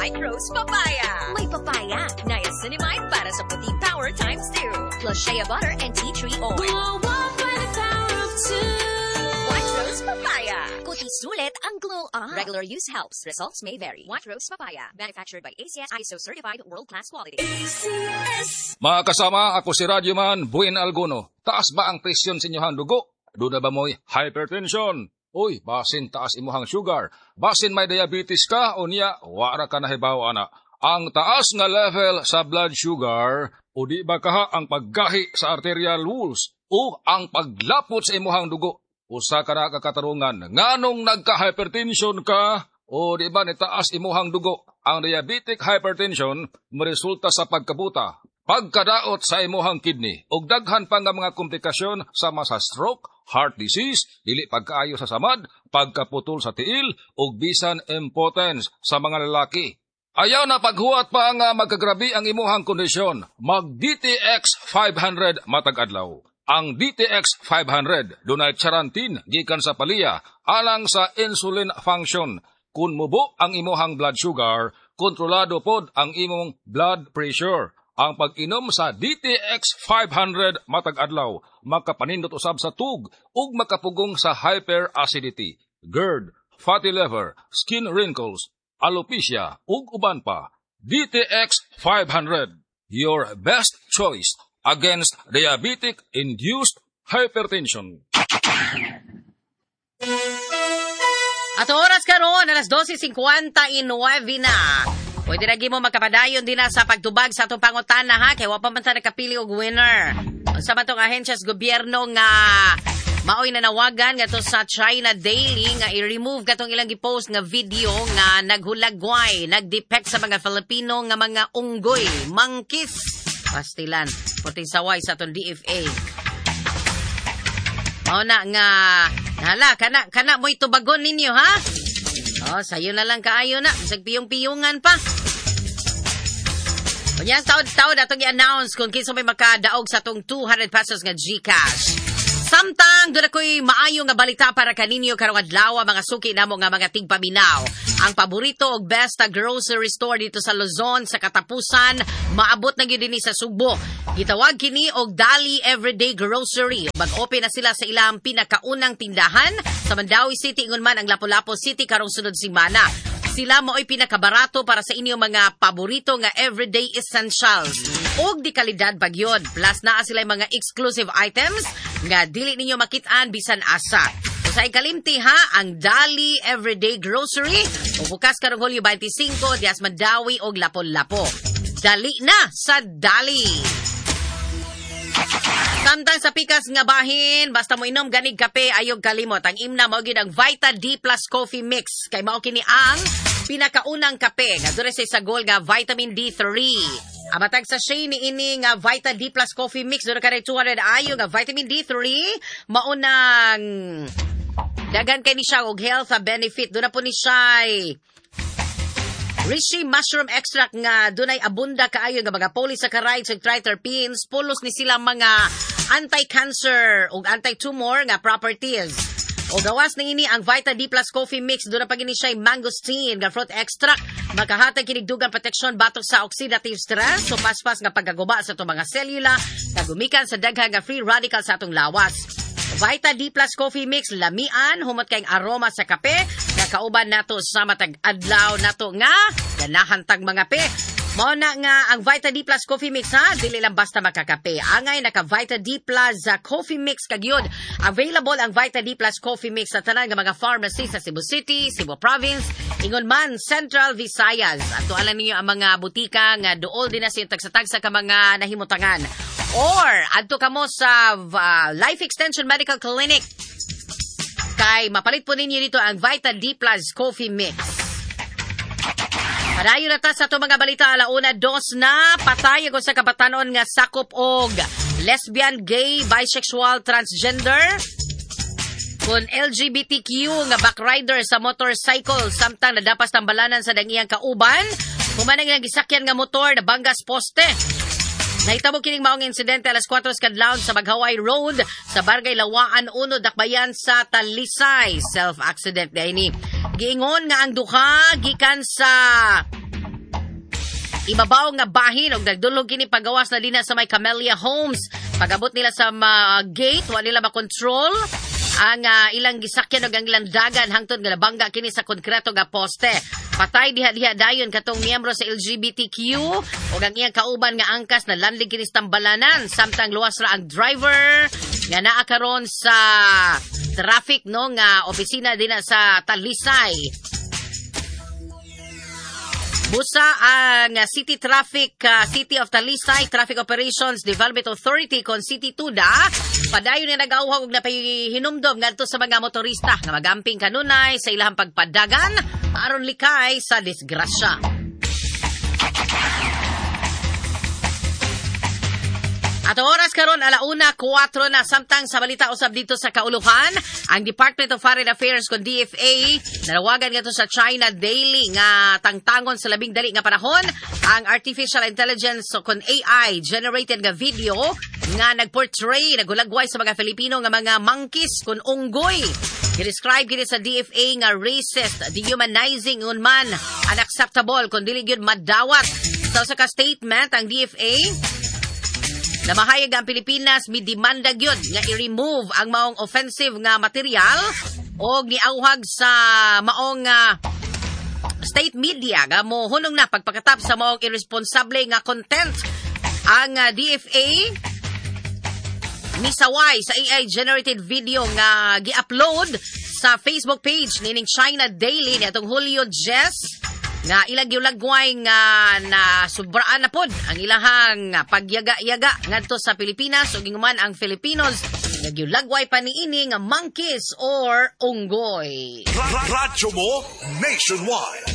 White Rose Papaya. May papaya, niacinamide para sa puti power times 2. Plus shea butter and tea tree oil. Glow up by the power of two. White Rose Papaya. Kuti sulit ang glow up. Regular use helps. Results may vary. White Rose Papaya. Manufactured by ACS ISO certified world-class quality. ACS. Mga kasama, ako si Radyoman Buin Alguno. Taas ba ang presyon sa inyong dugo? Duna ba mo'y hypertension? Uy, basin taas imuhang sugar. Basin may diabetes ka o niya, wara ka nahibaw ana. Ang taas nga level sa blood sugar, o di ba kaha ang paggahi sa arterial walls o ang paglapot sa imuhang dugo? Usa ka na kakatarungan, nganong nagka-hypertension ka o di ba nitaas imuhang dugo? Ang diabetic hypertension moresulta sa pagkabuta, pagkadaot sa imuhang kidney, ug daghan pa nga mga komplikasyon sama sa stroke, heart disease, dili pagkaayo sa samad, pagkaputol sa tiil, ug bisan impotence sa mga lalaki. Ayaw na paghuwat pa nga magkagrabi ang imuhang kondisyon. Mag DTX 500 matag adlaw. Ang DTX 500 dunay charantin gikan sa Palia alang sa insulin function. Kung mubo ang imuhang blood sugar, kontrolado pod ang imong blood pressure. Ang pag-inom sa DTX 500 matag adlaw makapanindot usab sa tug ug makapugong sa hyperacidity, GERD, fatty liver, skin wrinkles, alopecia ug uban pa. DTX 500, your best choice against diabetic-induced hypertension. At oras karon alas 12:59 na. Pwede na mo makapadayon din na sa pagtubag sa atong pangutana ha, kay wa pa man ta nakapili og winner. Unsa man tong ahensya sa gobyerno nga maoy nanawagan ngadto sa China Daily nga i-remove katong ilang gipost nga video nga naghulagway, nagdepect sa mga Filipino nga mga unggoy, monkeys. Pastilan, puting saway sa atong DFA. Mao na nga hala kana kana mo'y tubagon ninyo ha. Oh, sayo na lang kaayo na, bisag piyong-piyungan pa. Unya taod-taod atong i-announce kung kinsa may makadaog sa atong 200 pesos nga GCash. Samtang doon ako'y maayo nga balita para kaninyo karong adlaw, mga suki namo nga mga tigpaminaw. Ang paborito og best grocery store dito sa Luzon sa katapusan maabot na gyud dinhi sa Sugbo. Gitawag kini og Dali Everyday Grocery. Mag-open na sila sa ilang pinakaunang tindahan sa Mandaue City ingon man ang Lapu-Lapu City karong sunod semana. Sila mao'y pinakabarato para sa inyong mga paborito nga everyday essentials. Og di kalidad bagyod. Plus naa sila mga exclusive items nga dili ninyo makit-an bisan asa. So, sa ikalimti ha, ang Dali Everyday Grocery. Bukas karong Hulyo 25, dias Mandaue og Lapu-Lapu. Dali na sa Dali! Samtang sa pikas nga bahin, basta mo inom ganig kape, ayog kalimot. Ang imna mao gyud ang Vita D Plus Coffee Mix. Kay mao kini ang pinakaunang kape nga dure sa sagol nga vitamin D3. Ang matag sachet ni ini nga Vita D Plus Coffee Mix dure kanay 200 ayo nga vitamin D3, maunang daghan kay ni siya og health benefit. Duna po ni siya Reishi mushroom extract nga dunay abunda kaayo nga mga polysaccharides ug triterpenes, pulos ni sila mga anti-cancer ug anti-tumor nga properties. O gawas ni ini ang Vita D Plus Coffee Mix, doon na pag ini siya mangosteen nga fruit extract, makahatag kinig dugang proteksyon batok sa oxidative stress, so paspas nga pagkaguba sa atong mga selula nga gumikan sa daghan nga free radical sa atong lawas. Vita D Plus Coffee Mix, lamian, humot kayong aroma sa kape, nga kauban nato sa matag adlaw nato nga ganahan tag mga pe. Mao na nga ang Vita D Plus Coffee Mix ha, dili lang basta makakape. Angay naka Vita D Plus Coffee Mix kagyud. Available ang Vita D Plus Coffee Mix sa tanan nga mga pharmacy sa Cebu City, Cebu Province, ingon man Central Visayas. Ato alam ninyo ang mga butika nga duol din na sa tagsa-tagsa ka mga nahimutangan. Or adto kamo sa Life Extension Medical Clinic. Kay mapalit po ninyo dito ang Vita D Plus Coffee Mix. Padayon na ta sa itong mga balita, 1:02 na. Patay ako sa kabatanon nga sakop og lesbian, gay, bisexual, transgender kun LGBTQ nga backrider sa motorcycle samtang nadapas tambalanan sa dangiyang kauban human ang ilang gisakyan nga motor nabanggas poste. Nahitabo kining maong insidente alas 4 sa kadlawon sa Maghaway Road sa Barangay Lawaan 1, Dakbayan sa Talisay. Self-accident ni. Giingon nga ang duha gikan sa ibabaw nga bahin og nagdulhog kini pagawas na dinha sa may Camellia Homes. Pagabot nila sa gate, wa nila makontrol ang ilang gisakyan og ang ilang dagan hangtod nga nabangga kini sa konkreto nga poste. Patay diha-diha dayon katong miyembro sa LGBTQ ug ang iyang kauban nga angkas na landing kini sa tambalanan, samtang luwas ra ang driver nga naa karon sa traffic, no, nga opisina dinha sa Talisay. Busa ang City Traffic, City of Talisay Traffic Operations Development Authority kon City Tuda padayon nga nag-awhag og napahinumdom ngadto sa mga motorista nga magamping kanunay sa ilahang pagpadagan aron likay sa disgrasya. At oras karon 1:04 na, samtang sa balita usab dito sa kauluhan, ang Department of Foreign Affairs kon DFA nanawagan ngadto sa China Daily nga tangtangon sa labing dali nga panahon ang artificial intelligence o kon AI generated nga video nga nagportray, nagulagway sa mga Filipino nga mga monkeys kon unggoy. Gi-describe kini sa DFA nga racist, dehumanizing unman, unacceptable kon dili gyud madawat. Sa usa ka statement ang DFA namahayag ang Pilipinas midemanda gyud nga i-remove ang maong offensive nga material og niauhag sa maong state media nga mohunong na pagpakatap sa maong irresponsable nga content. Ang DFA misaway sa AI generated video nga gi-upload sa Facebook page nining China Daily niadtong Hulyo 10 nga ilang giulagway nga na subraan na pod ang ilahang pagyaga-yaga ngadto sa Pilipinas ug inguman ang Filipinos nga giulagway pa niini nga monkeys or unggoy. Radyo mo nationwide.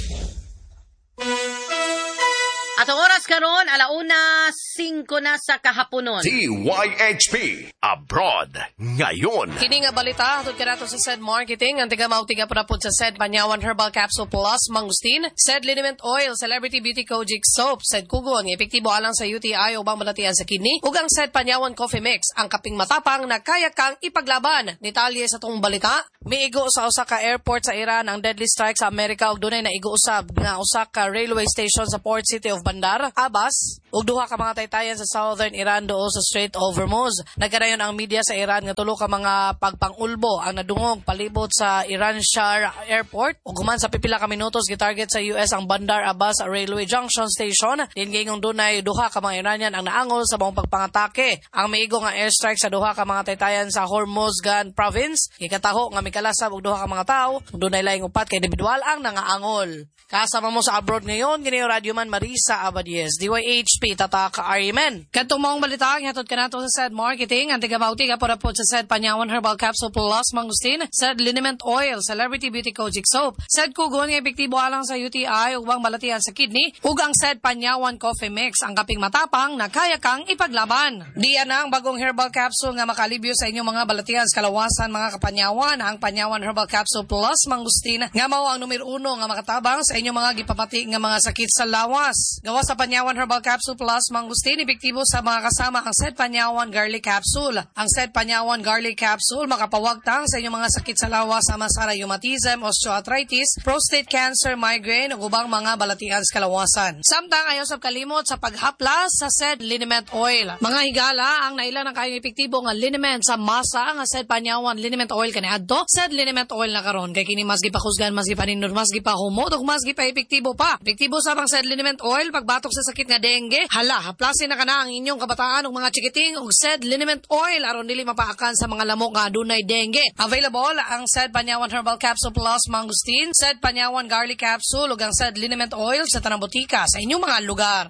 At ang oras karon 1:05 na sa kahaponon. DYHP Abroad ngayon. Kini nga balita hatod kanato sa SED Marketing, ang tiga-mauti nga pud sa SED Panyawan Herbal Capsule Plus Mangustin, SED Liniment Oil, Celebrity Beauty Kojic Soap, SED Kugon nga epektibo alang sa UTI ubang balatian sa kidney, ug ang SED Panyawan Coffee Mix, ang kaping matapang na kaya kang ipaglaban. Detalye sa tong balita, miigo sa usa ka airport sa Iran ang deadly strike sa Amerika ug dunay naigo usab nga usa ka railway station sa port city of Bandar Abbas ug duha ka mga taytayan sa southern Iran duol sa Strait of Hormuz. Nagkadayon ang media sa Iran nga tulo ka mga pagpangulbo ang nadungog palibot sa Iranshahr Airport ug human sa pipila ka minutos gitarget sa US ang Bandar Abbas Railway Junction Station. Din giingong dunay duha ka mga Iranian ang naangol sa maong pagpangatake. Ang miigo nga airstrike sa duha ka mga taytayan sa Hormozgan Province gikataho nga mikalasab og duha ka mga tawo ug dunay laing upat ka individual ang nangaangol. Kasama mo sa abroad ngayon, kini Radyo Man Marisa Abadies, DYHP, Tatak RMN. Kadtong maong balita, hatod kanato sa SED Marketing, ang tiga-mauti ka po sa SED Panyawan Herbal Capsule Plus Mangustin, SED Liniment Oil, Celebrity Beauty Kojic Soap, SED Kugon nga epektibo alang sa UTI ug ubang balatian sa kidney, ug ang SED Panyawan Coffee Mix, ang kaping matapang na kaya kang ipaglaban. Diyan na ang bagong herbal capsule nga makalibyo sa inyong mga balatian sa kalawasan, mga kapanyawan, ang Panyawan Herbal Capsule Plus Mangustin nga mao ang numero 1 nga makatabang sa inyong mga gipamati nga mga sakit sa lawas. Gawa sa Panyawan Herbal Capsule Plus Mangustin, epektibo sa mga kasama ang SED Panyawan Garlic Capsule. Ang SED Panyawan Garlic Capsule makapawagtang sa inyong mga sakit sa lawas sama sa rheumatism, osteoarthritis, prostate cancer, migraine ug ubang mga balatian sa kalawasan. Samtang ayaw sab kalimot sa paghaplas sa SED Liniment Oil. Mga higala, ang naila ng kayong epektibo nga liniment sa masa nga SED Panyawan Liniment Oil kaniadto, SED Liniment Oil na karon kay kini mas gipakusgan, mas gipanindot, mas gipahumot ug mas gipa-epektibo pa. Epektibo sa bang SED Liniment Oil pagbatok sa sakit nga dengue. Hala, haplasin na kana ang inyong kabataan ug mga chikiting og SED Liniment Oil aron dili mapaakan sa mga lamok nga adunay dengue. Available ang SED Panyawan Herbal Capsule Plus Mangustin, SED Panyawan Garlic Capsule ug ang SED Liniment Oil sa tanang botika sa inyong mga lugar.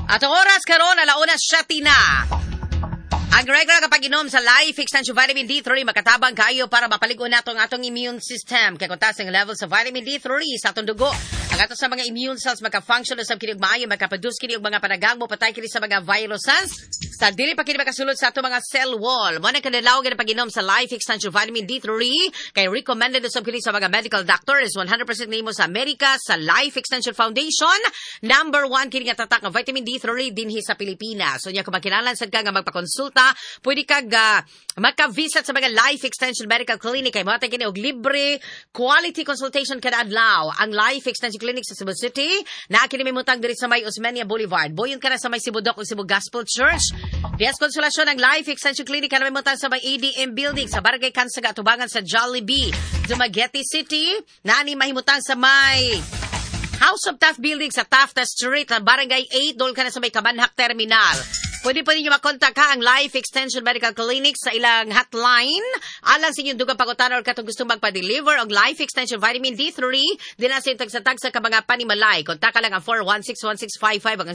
At ang oras karon 1:07 na. Ang regular kapag inom sa Life Extension Vitamin D3 makatabang kayo para mapaligo nato ang atong immune system. Kay kung taas ang level sa vitamin D3 sa atong dugo, ang ato sa mga immune cells maka-function usab kini og maayo, makaproduce kini og mga panagangmo patay kini sa mga viruses. Sa dili pa kini makasulod sa ato mga cell wall. Mo na kadlaw gyud pag-inom sa Life Extension Vitamin D3 kay recommended usab kini sa mga medical doctors. 100% nimo sa Amerika sa Life Extension Foundation. Number 1 kini nga tatak nga vitamin D3 dinhi sa Pilipinas. So nya kung makinahanglan sad ka nga magpakonsulta, pwede kag maka-visit sa mga Life Extension Medical Clinic kay mohatag kini og libre quality consultation kada adlaw. Ang Life Extension Clinic sa Cebu City naa kini mimutang diri sa may Osmeña Boulevard. Boyon ka na sa may Sibudok o Cebu Gospel Church. Dias Consolacion ang Life Extension Clinic kanang mimutang sa may ADM Building sa Barangay Kansaga, tubangan sa Jollibee, Dumaguete City. Naani mahimutang sa may House of Taft Building sa Taft Street, Barangay 8, dool ka na sa may Kabanhak Terminal. Pwede pa ninyo makontak ha ang Life Extension Medical Clinic sa ilang hotline. Alang sa inyong dugang pangutana or katong gusto magpa-deliver og Life Extension Vitamin D3 din sa inyong tagsa-tagsa ka mga panimalay. Kontak lang ang 416-1655 ang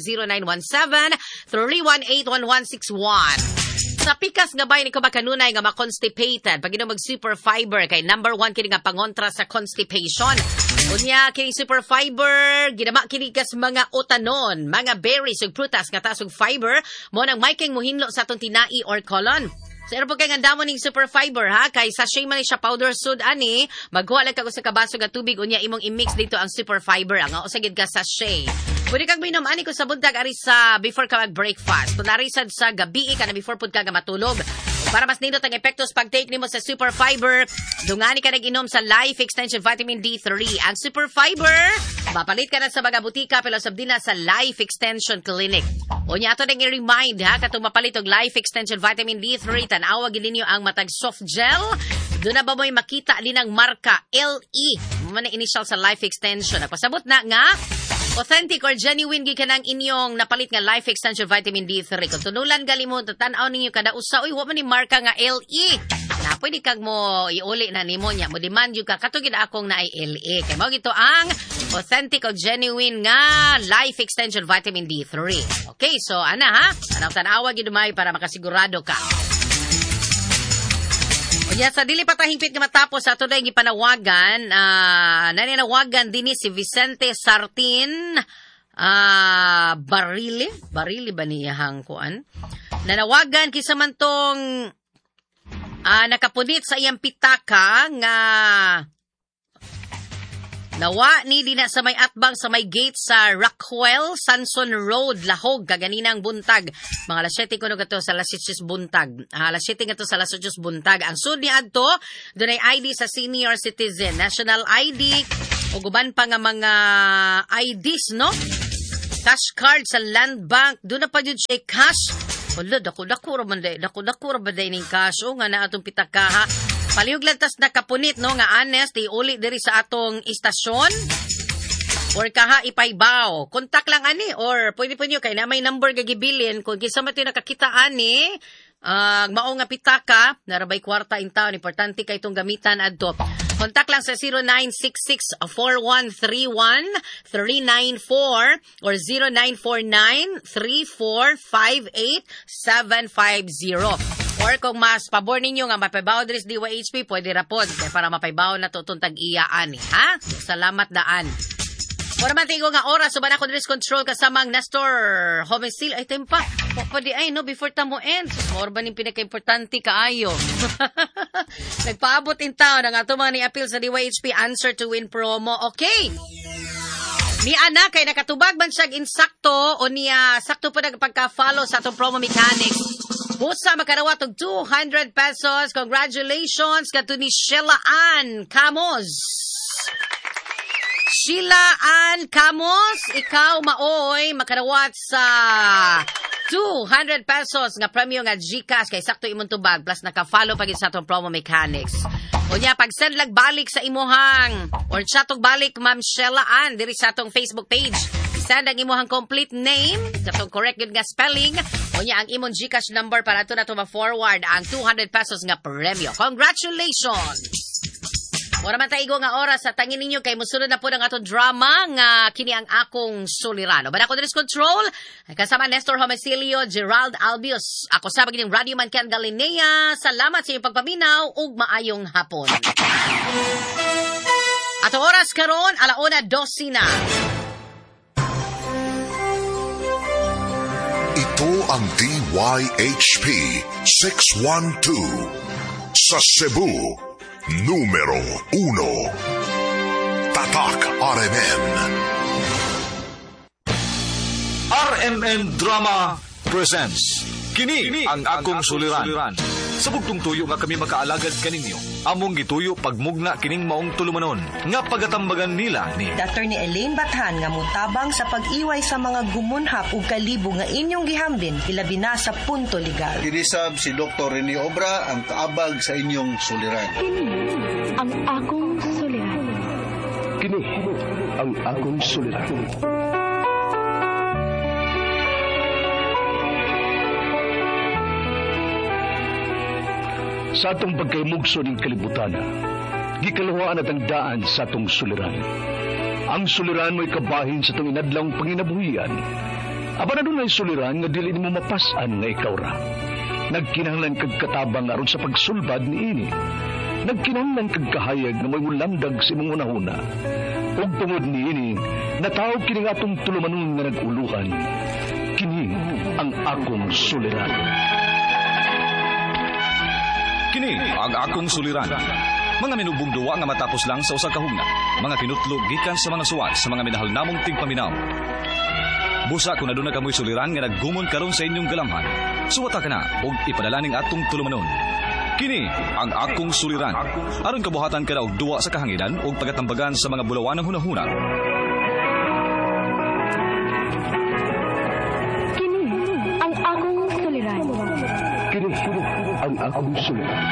0917-318-1161. Sa pikas nga bayan ikaw makanunay nga ma-constipated, pag inom mag super fiber kay number 1 kini nga pangontra sa constipation. Unya kini super fiber ginama kini kas mga utanon, mga berries ug prutas nga taas og fiber mo nang may king muhinlo sa atong tinai or colon. So pero po kay nga damo ning super fiber ha, kay sachet man ni siya powder sud ani, maghuwa lang kag usa ka baso nga tubig unya imong i-mix dito ang super fiber ang usa gid ka sachet. Pwede kang minom ani ko sa buntag ari sa before ka mag-breakfast. Kunwari sad sa gabi ka na before pud ka nga matulog. Para mas nindot ang epekto sa pag-take nimo sa super fiber, dungani ka nag-inom sa Life Extension Vitamin D3. Ang super fiber, mapalit ka na sa mga butika pero sab din na sa Life Extension Clinic. Unya ato nang i-remind ha, katong mapalit og Life Extension Vitamin D3, tan-awa gid ninyo ang matag soft gel. Doon na ba mo'y makita din ang marka LE, man ang initial sa Life Extension. Nagpasabot na nga authentic or genuine gikan ang inyong napalit nga Life Extension Vitamin D3. Kung tunulan gali mo, tan-aw ninyo kada usa, uy, wa man ni marka nga LE. Na pwede kag mo iuli na nimo niya, mo demand yung ka katugid akong naay LE. Kay mao gito ang authentic or genuine nga Life Extension Vitamin D3. Okay, so ana ha, anang tan-awa gid may para makasigurado ka. Unya sa dili pa ta hingpit nga matapos ato na gipanawagan, nananawagan dinhi si Vicente Sartin Barili, Barili ba niyahang kuan? Nanawagan kinsa man tong nakapunit sa iyang pitaka nga nawa ni dina sa may atbang sa may gate sa Rockwell, Sanson Road, Lahog, kaganinang buntag. Mga alas 7 kuno kato sa alas 6 buntag. Alas 7 kato sa alas 8 buntag. Ang sud ni adto, dunay ID sa senior citizen, national ID, ug uban pa nga mga IDs, no? Cash card sa Land Bank, doon na pa jud siya cash. Wala, dako-dako ra man day, dako-dako ra ba day ning cash? O nga na atong pitaka ha. Palihog lang tas nakapunit no nga honest iuli diri sa atong istasyon or kaha ipaybaw. Kontak lang ani or pwede po niyo kay na may number gagibilin kung kinsa man to'y nakakita ani mao nga pitaka narabay kwarta in town, importante kay itong gamitan adto. Kontak lang sa 0966-4131-394 or 0949-3458-750. Or kung mas pabor ninyo nga mapaybaw diri sa DYHP, pwede ra pod kay para mapaybaw na to itong tag-iya ani, ha? Salamat daan. Wala man tingo nga oras, uban ako diri control kasamang Nestor Homicil. Ay, tempa. Pwede ay, no, before ta mo end. More ba ning pinaka-importante kaayo? Nagpaabot in town ang ato mga ni-appeal sa DYHP Answer to Win promo. Okay. Ni Ana, kay nakatubag man siyag insakto o niya sakto pa nagpagka-follow sa atong promo mechanics. Busa makarawat og 200 pesos. Congratulations kadto ni Sheila Ann Camos. Sheila Ann Camos, ikaw maoy makarawat sa 200 pesos nga premyo nga GCash kay sakto imong tubag plus naka-follow pagid sa atong promo mechanics. Unya pag-send lag balik sa imuhang or chat og balik Ma'am Sheila Ann diri sa atong Facebook page. Send ang imuhang complete name, katong correct gyud nga spelling, unya ang imong GCash number para ato na to ma-forward ang 200 pesos nga premyo. Congratulations! Wala man taigo nga oras sa tangin ninyo kay musunod na po ng atong drama nga kini ang akong sulirano. Bada ko control kasama Nestor Homicilio, Gerald Albius. Ako sa pagiging Radio Man Ken Galinea. Salamat sa inyong pagpaminaw ug maayong hapon. Ato oras karon 1:12 na. Ito ang DYHP 612. Sa Cebu, numero 1. Tatak RMN. RMN Drama presents Kini ang akong suliran. Sa bugtong tuyo nga kami makaalagad kaninyo, among gituyo pagmugna kining maong tulumanon nga pagatambagan nila ni Attorney Elaine Bathan nga mutabang sa pag-iway sa mga gumunhap ug kalibo nga inyong gihambin ilabi na sa punto legal. Dinisab si Dr. Rene Obra ang kaabag sa inyong suliran. Kini ang akong suliran. Kini ang akong suliran. Sa atong pagkaymugso ng kalibutan, gikaluhaan at ang daan sa atong suliran. Ang suliran mo'y kabahin sa itong inadlawng panginabuhian. Aba na dunay suliran nga dili nimo mapas-an nga ikaw ra. Nagkinahanglan kag katabang aron sa pagsulbad niini. Nagkinahanglan kag kahayag nga mo'y mulamdag sa imong hunahuna. Ug tungod niini, natawag kini nga atong tulumanon nga nag-uluhan. Kini ang akong suliran. Kini ang akong suliran. Mga minubong duwa nga matapos lang sa usa ka hugna. Mga kinutlog gikan sa mga suwat sa mga minahal namong tigpaminaw. Busa kung aduna kamoy suliran nga naggumon karon sa inyong galamhan. Suwata ka na og ipadala ning atong tulumanon. Kini ang akong suliran. Aron kabuhatan ka na og duwa sa kahanginan og pagatambagan sa mga bulawanang hunahuna. Kini ang akong suliran. Kini ang akong suliran.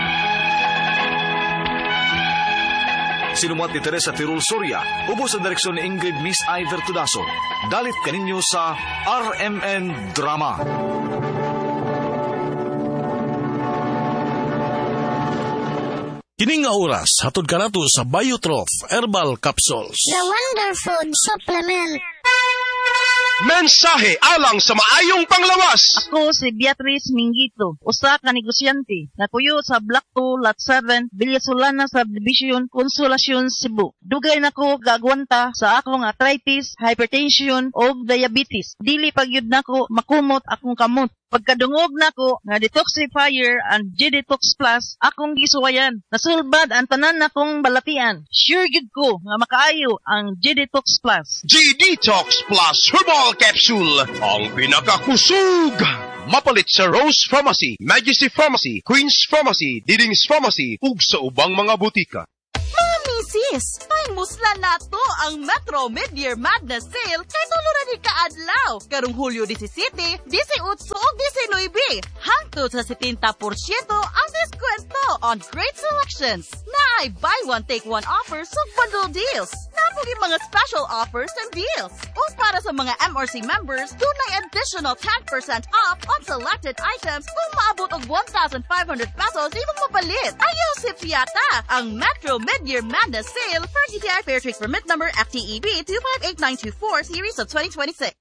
Sinumuat ni Teresa Tirul Soria, ubos sa direksyon ni Ingrid Miss Iver Tudaso. Dalit kaninyo sa RMN Drama. Kini nga oras, hatod kanato sa Biotroph Herbal Capsules. The Wonderfood Supplement. Mensahe alang sa maayong panglawas. Ako si Beatrice Mingito, usa ka negosyante, nakuyo sa Block 2, Lot 7, Villasolana Subdivision, Consolacion, Cebu. Dugay nako gaagwanta sa akong arthritis, hypertension ug diabetes. Dili pagyud nako makumot akong kamot. Pagkadungog nako nga detoxifier and G-Detox Plus akong gisuwayan. Nasulbad ang tanan nakong balatian. Sure gyud ko nga makaayo ang G-Detox Plus. G-Detox Plus Herbal Capsule, ang pinakakusog! Mapalit sa Rose Pharmacy, Majesty Pharmacy, Queen's Pharmacy, Diding's Pharmacy, ug sa ubang mga butika. Mga misis, pahimuslan na to ang Metro Mid-Year Madness Sale kay tulo ni kaadlaw. Karong Hulyo 17, 18 ug 19. Hangtod sa 70% ang diskwento on great selections. Naay buy one take one offers ug bundle deals. Napugi mga special offers and deals. Ug para sa mga MRC members, dunay additional 10% off on selected items kung maabot og 1,500 pesos imong mapalit. Ayaw sip yata ang Metro Mid-Year Madness Sale for DTI Fair Trade Permit Number FTEB 258924 Series of 2026.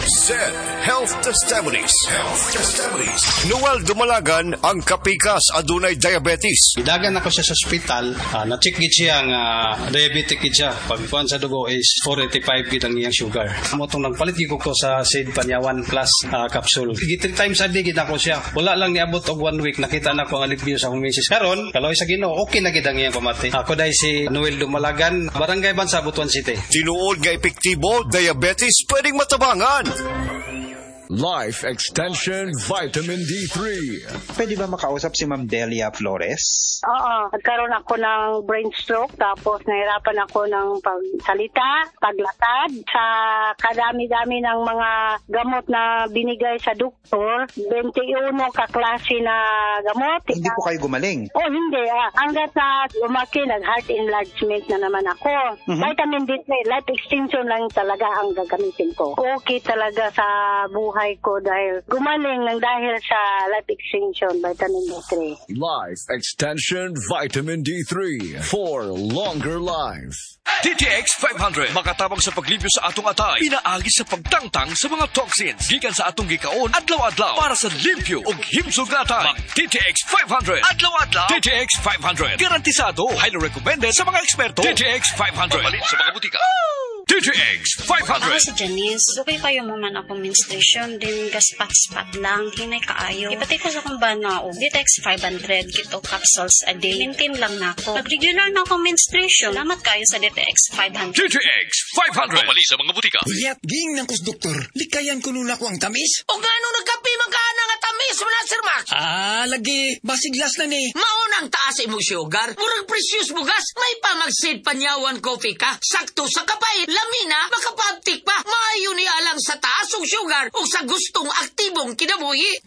Said Health Testimonies. Health Testimonies. Noel Dumalagan ang kapikas adunay diabetes. Gidagan ako siya sa ospital, na-check gid siya nga diabetic gid siya. Pagkuan sa dugo is 485 gid ang iyang sugar. Amo tong nagpalit gid ko sa Seed Panyawan Plus capsule. Gi 3 times a day gid ako siya. Wala lang niabot og 1 week nakita na ko ang alipyo sa akong misis. Karon, kaloy sa Ginoo, okay na gid ang iyang pamati. Ako dai si Noel Dumalagan, Barangay Bansa, Butuan City. Tinuod nga epektibo, diabetes pwedeng matabangan. Life Extension Vitamin D3. Pwede ba makausap si Ma'am Delia Flores? Oo, nagkaroon ako ng brain stroke tapos nahirapan ako ng pagsalita, paglakad. Sa kadami-dami ng mga gamot na binigay sa doktor, 21 kaklase na gamot. Hindi po kayo gumaling? Oh, hindi. Hanggat sa lumaki, nag-heart enlargement na naman ako. Mm-hmm. Vitamin D3, life extension lang talaga ang gagamitin ko. Okay talaga sa buhay ko dahil gumaling ng dahil sa life extension, vitamin D3. Life Extension Vitamin D3 for longer life. DTX 500 makatabang sa paglibyo sa atong atay, pinaagi sa pagtangtang sa mga toxins gikan sa atong gikaon adlaw-adlaw para sa limpyo ug himsog nga atay. Mag DTX 500 adlaw-adlaw. DTX 500 garantisado, highly recommended sa mga eksperto. DTX 500 papalit sa mga butika. DTX DTX Ako 500. si Janice. Dugay kayo mo man akong menstruation. Din gaspat-spat lang. Hinay kaayo. Ipatay ko sa akong bana og DTX 500 kito capsules a day. Maintain lang nako. Nag-regular na akong menstruation. Salamat kayo sa DTX 500. DTX 500. Pamali sa mga butika. Ulyat, ging nang kus doktor. Likayan ko nuna ko ang tamis. O ngano nagkape man ka na nga tamis mo na, Sir Max? Ah, lagi. Basiglas na ni. Maunang taas imong sugar. Murag precious bugas. May pamagsid panyawan coffee ka. Sakto sa kapait. Lamina, makapaabtik pa. Maayo ni alang sa taas og sugar o sa gustong aktibong kinabuhi.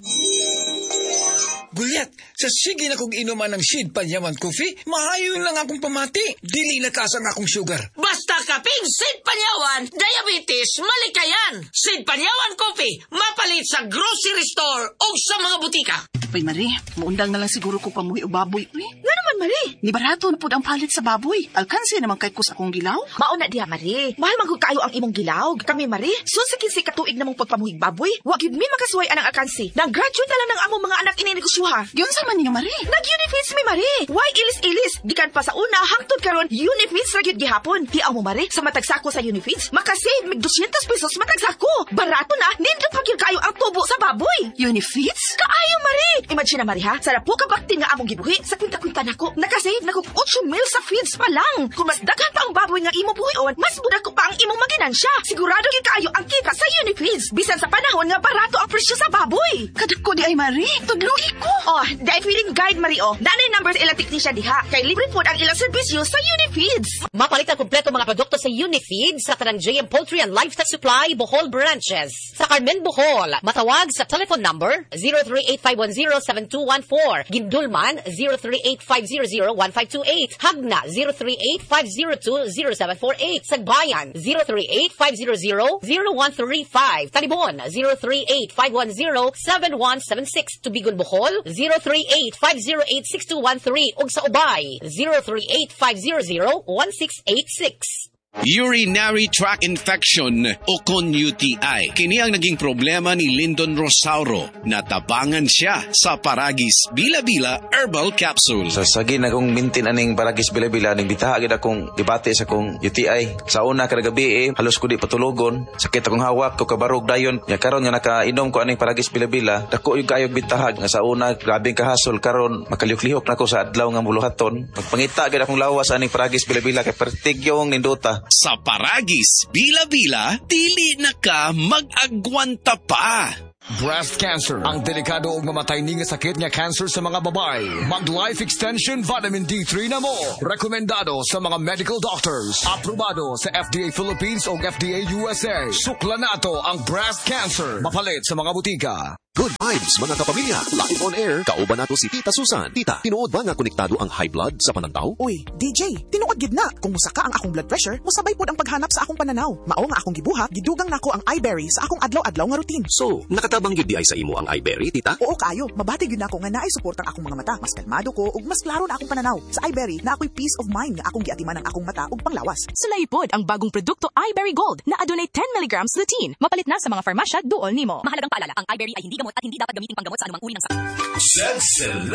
Gulyat, sa sige na kong inuman ng Sid Panyaman Coffee, maayo lang akong pamati. Dili na taas ang akong sugar. Basta kaping Sid Panyawan, diabetes, malikayan. Sid Panyawan Coffee, mapalit sa grocery store o sa mga butika. Uy, Marie, muundang na lang siguro ko pamuhi og baboy. Uy, Nga naman, Marie. Ni barato na pud ang palit sa baboy. Alkansi naman kay kus akong gilaw. Mauna diha, Marie. Mahal man gud kaayo ang imong gilaw. Kami, Marie, sun sa 15 ka tuig namong pagpamuhig baboy, wa gyud mi makasuway anang alkansi. Nang graduate na lang ng among mga anak ini negosyoha. Giunsa man ninyo, Marie? Nag-Unifeeds mi, Marie. Why ilis-ilis? Gikan pa sa una hangtod karon Unifeeds ra gyud gihapon. Tiaw mo, Marie, sa matag sako sa Unifeeds, makasave mig 200 pesos matag sako. Barato na, nindot pa gyud kaayo ang tubo sa baboy. Unifeeds? Kaayo, Marie. Imagine na, Marie, ha? Sa lapo ka bakti nga among gibuhi, sa kwinta-kwinta nako, nakasave na kog 8 mil sa feeds pa lang. Kung mas daghan pa ang baboy nga imo buhion, mas budak ko pa ang imong maginansya. Sigurado gyud kaayo ang kita sa Unifeeds. Bisan sa panahon nga barato ang presyo sa baboy. Kadako di ay, Marie. Tudloy ko. Oh, dahil feeling guide, Marie, oh. Nanay numbers ilang technician diha. Kay libre food ang ilang serbisyo sa Unifeeds. Mapalit ang kumpleto mga produkto sa Unifeed sa Tanang JM Poultry and Livestock Supply Bohol Branches. Sa Carmen, Bohol, matawag sa telephone number 0385107214. Gindulman 0385001528. Hagna 0385020748. Sagbayan 0385000135. Talibon 0385107176. Tubigon, Bohol 0385086213 ug sa Ubay 0385001686. Urinary tract infection o kon UTI. Kini ang naging problema ni Lyndon Rosauro. Natabangan siya sa Paragis Bila-Bila Herbal Capsule. Sa sagi na kong mintin aning Paragis Bila-Bila ning bitaha gid akong gibati sa akong UTI. Sa una kada gabi eh, halos ko di patulogon. Sakit akong hawak ko kabarog dayon. Nya karon nga nakainom ko aning Paragis Bila-Bila, dako yung kaayog bitahag nga sa una grabeng kahasol, karon makalihok-lihok na ko sa adlaw nga muluhaton. Magpangita gid akong lawas aning Paragis Bila-Bila kay pertig yung nindota. Sa Paragis Bila-Bila, dili na ka mag-agwanta pa. Breast cancer, ang delikado og mamatay ni nga sakit nga cancer sa mga babae. Mag Life Extension Vitamin D3 na mo. Rekomendado sa mga medical doctors. Aprobado sa FDA Philippines o FDA USA. Sukla nato ang breast cancer. Mapalit sa mga butika. Good vibes, mga kapamilya. Live on air, kauban nato si Tita Susan. Tita, tinuod ba nga konektado ang high blood sa panantaw? Uy, DJ, tinuod gid na. Kung musaka ang akong blood pressure, musabay pod ang paghanap sa akong pananaw. Mao nga akong gibuhat, gidugang nako ang iBerry sa akong adlaw-adlaw nga routine. So, nakatabang gyud di ay sa imo ang iBerry, Tita? Oo kaayo, mabati gyud nako nga naay suportang akong mga mata. Mas kalmado ko ug mas klaro na akong pananaw. Sa iBerry, na ako'y peace of mind nga akong giatiman ang akong mata ug panglawas. Sulay pod ang bagong produkto iBerry Gold na adunay 10 mg lutein. Mapalit na sa mga farmasya duol nimo. Mahalagang paalala, ang iBerry ay hindi gamot at hindi dapat gamitin panggamot sa anumang uri ng sakit. Said.